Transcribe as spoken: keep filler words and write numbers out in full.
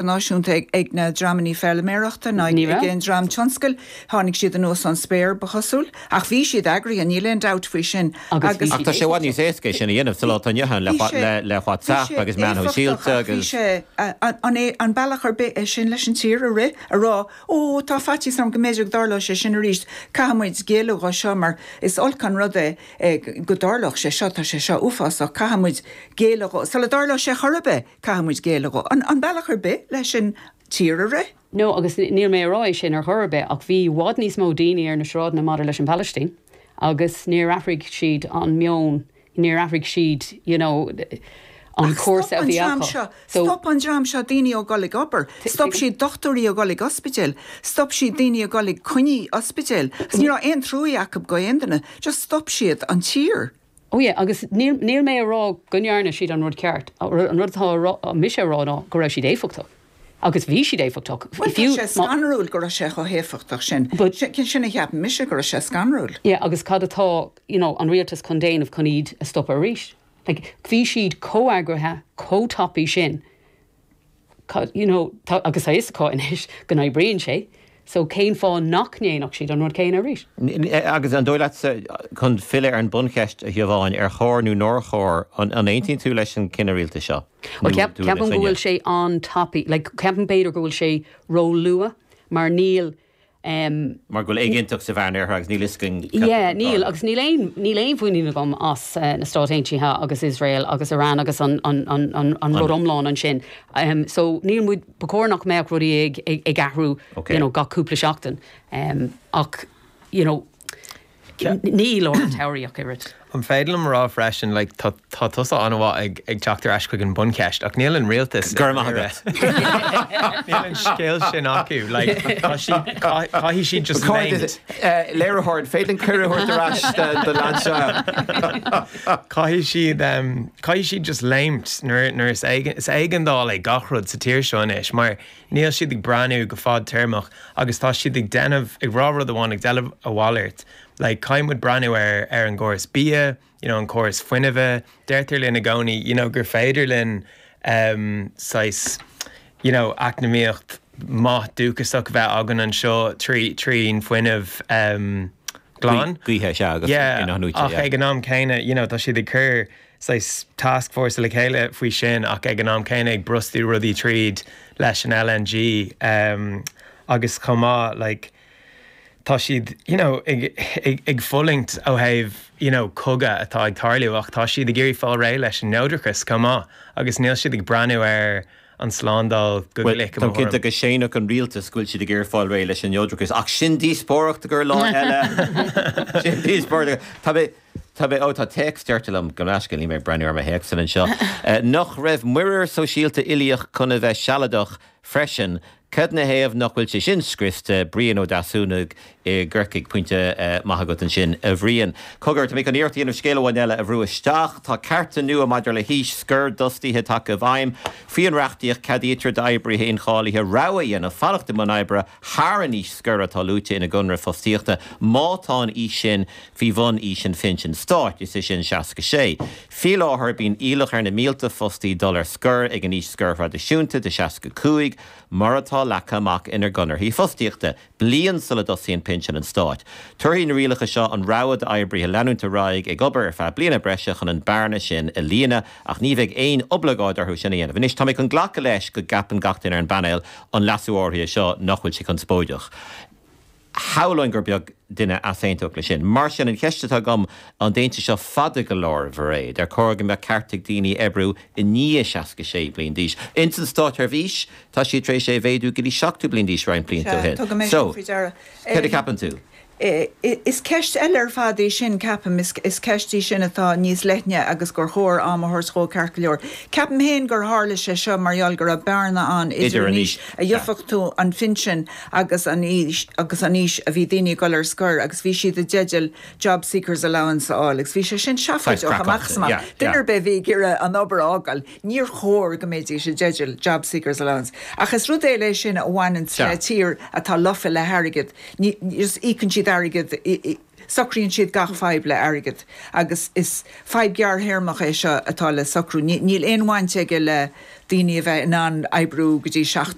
Náisiúnta ag na dreamanna feilméarachta ná ag an dream tionscail, tháinig siad anuas ón spéir ba chosúil, ach bhí siad eagraithe, níl aon dabht faoi sin. Agus tá sé i bhfad níos éasca sin a dhéanamh sa lá atá inniu ann le WhatsApp agus meáin shóisialta agus. Bhí sé an bealach ar bith é sin leis an tír a rith, a rá, ó tá faitíos orm go mb'fhéidir go dtarlóidh sé sin arís, caithfidh muid géilleadh dhó seo mar is olc an rud é go dtarlódh sé seo, tá sé seo uafásach, caithfidh muid géilleadh dhó, sula dtarlóidh sé chor ar bith, caithfidh muid géilleadh dhó. An bealach ar bith leis an tír a rith? No, agus níl mé ag rá é sin ar chor ar bith, ach bhí i bhfad níos mó daoine ar na sráideanna maidir leis an Phalaistín agus níor athraigh siad an meon, níor athraigh siad, you know, an cúrsa a bhí acu. Stop an dream seo daoine ó dhul ag obair, stop siad dochtúirí ó dhul ag ospidéal, stop siad daoine ó dhul ag coinní ospidéal. Ní raibh aon trua acu go aon duine, just stop siad an tír. Oh yeah, agus níl níl mé ag rá go ndearna siad an rud ceart, an rud atá mise a rá ná go raibh siad éifeachtach. Agus bhí siad éifeachtach. Well, tá sé scanrúil go raibh sé chomh héifeachtach sin. Sin a cheap mise go raibh sé scanrúil. Yeah, agus cad atá you know, an rialtas chun déanamh chun iad a stopadh arís. Like, bhí siad chomh heagraithe, chomh tapaidh sin. You know, tá, agus tá fhios acu anois go n-oibríonn sé. So cén fáth nach ndéanfadh siad an rud céanna arís? Agus an dóigh leatsa chun filleadh ar an buncheist a Shiobháin ar chóir nó nár chóir an aontaíonn tú leis an cinneadh rialtais seo? Well ceapaim go bhfuil sé an-tapaidh, like ceapaim b'fhéidir go bhfuil sé ró-luath mar níl Um, Mar go bhfuil éiginnteacht sa Mheánoirthear agus níl fhios againn. Yeah, níl agus níl aon níl aon mhuinín agam as uh, na Stáit Aontaithe agus Israel agus Iran agus an, an, an, an, an rud iomlán ansin. Um, so níl muid ba chóir nach mbeadh rudaí ag, ag, ag athrú okay. you know, gach cúpla seachtain. Um, ach you know, ní lár an tsamhraidh ach oiread. An féidir liom rá freisin like, tá tá tusa an-mhaith ag ag teacht ar ais chuig an buncheist ach níl an rialtas Gur maith agat. Níl an scéal sin acu like, tá siad caithfidh siad just léimt. Léiritheoir féidir cuireadh a thabhairt ar ais do leaid seo. Caithfidh siad um, caithfidh siad just léimt nuair nuair is éigean is éigeandáil é gach rud sa tír seo anois mar níl siad ag breathnú go fadtéarmach agus tá siad ag déanamh ag rá rud amháin ag déanamh a mhalairt. Like caithfidh muid breathnú ar ar an gcóras bia, you know, an córas fuinnimh, deirtear linn i gcónaí, you know, gur féidir linn um, saghas, you know, eacnamaíocht maith dúchasach bheith againn anseo trí trín fuinneamh um, glan. Gaoithe sea agus Yeah, inathnuaite, ach yeah. ag an am céanna, you know, tá siad ag cur saghas task force le chéile faoi sin ach ag an am céanna ag brostú rudaí tríd leis an LNG um, agus chomh maith like, tá siad you know, ag, ag, ag fulaingt ó thaobh you know, cogadh atá ag tarlú ach tá siad ag iarraidh fáil réidh leis an neodrachas chomh maith agus níl siad ag breathnú ar an slándáil go Well, glic Tá cinnte go séanfadh an rialtas go bhfuil siad ag iarraidh fáil réidh leis an neodrachas ach sin díospóireacht gur lá eile. Sin díospóireacht. Tá mé Tá mé ó tá téacs deirte liom go leisce ní mé breathnú ar mo théacs anseo. Eh, Nach raibh muirear sóisialta uilíoch chun a bheith sealadach freisin, Cad na thaobh nach bhfuil sé sin scriosta Brian Ó Deasúnaigh i gCorcaigh pointe uh, maith agat ansin a Bhriain. Cogar tá mé chun iarracht a dhéanamh scéal amháin eile a bhrú isteach, Tá cearta nua maidir le haois scoir d'fhostaithe tagtha i bhfeidhm, faoin reachtaíocht ceadaítear d'oibrithe incháilithe rogha a dhéanamh fanacht i mbun oibre thar an aois scoir atá luaite ina gconradh fostaíochta má tá an aois sin faoi bhun aois an phinsin stáit is é sin seasca sé. Faoi láthair bíonn iallach ar na mílte fostaí dul ar scor ag an aois scoir thraidisiúnta de seasca cúig, mar atá leagtha amach ina gconarthaí fostaíochta, bliain sula dtosaíonn pinsean an stáit. Tabharfaidh na rialacha seo an rogha d'oibrithe leanúint ar aghaidh ag obair ar feadh bliana breise chun an bearna sin a líonadh ach ní bheidh aon oibleagáid orthu sin a dhéanamh. Anois tá mé chun glacadh leis go gceapann gach duine ar an bpainéal an leasú áirithe seo nach bhfuil sé conspóideach. Shamhlóinn gur beag duine a aontódh le sin. Mar sin an cheist atá agam an dtéann seo fada go leor b'fhéidir, ar chóir go mbeadh ceart ag daoine oibriú i ndiaidh seasca sé bliain d'aois. Ins an státseirbhís tá siad tar éis é a mhéadú go dtí seachtó bliain d'aois roinnt blianta ó shin. So cad a cheapann tú? Is ceist eile ar fad é sin ceapaim is ceist í sin atá níos leithne agus gur chóir am a thabhairt dhó ceart go leor. Ceapaim féin gur tharla sé seo mar gheall go raibh bearna ann idir an aois a gheofadh tú an phinsin agus an aois agus an aois a bhí daoine ag dul ar scor agus bhí siad i dteideal job seekers allowance a fháil agus bhí sé sin seafóideach amach amach. Duine ar bith a bhí ag iarraidh an obair a fhágáil, níor chóir go mbeidís i dteideal job seekers allowance. Ach is rud é sin a bhaineann le tír atá lofa le hairgead. Ní íocann siad airgead Socraíonn siad gach fadhb le airgead agus is fadhb ghearrthéarmach é seo atá le socrú. Níl aon bhaint aige le daoine a bheith in ann oibriú go dtí seacht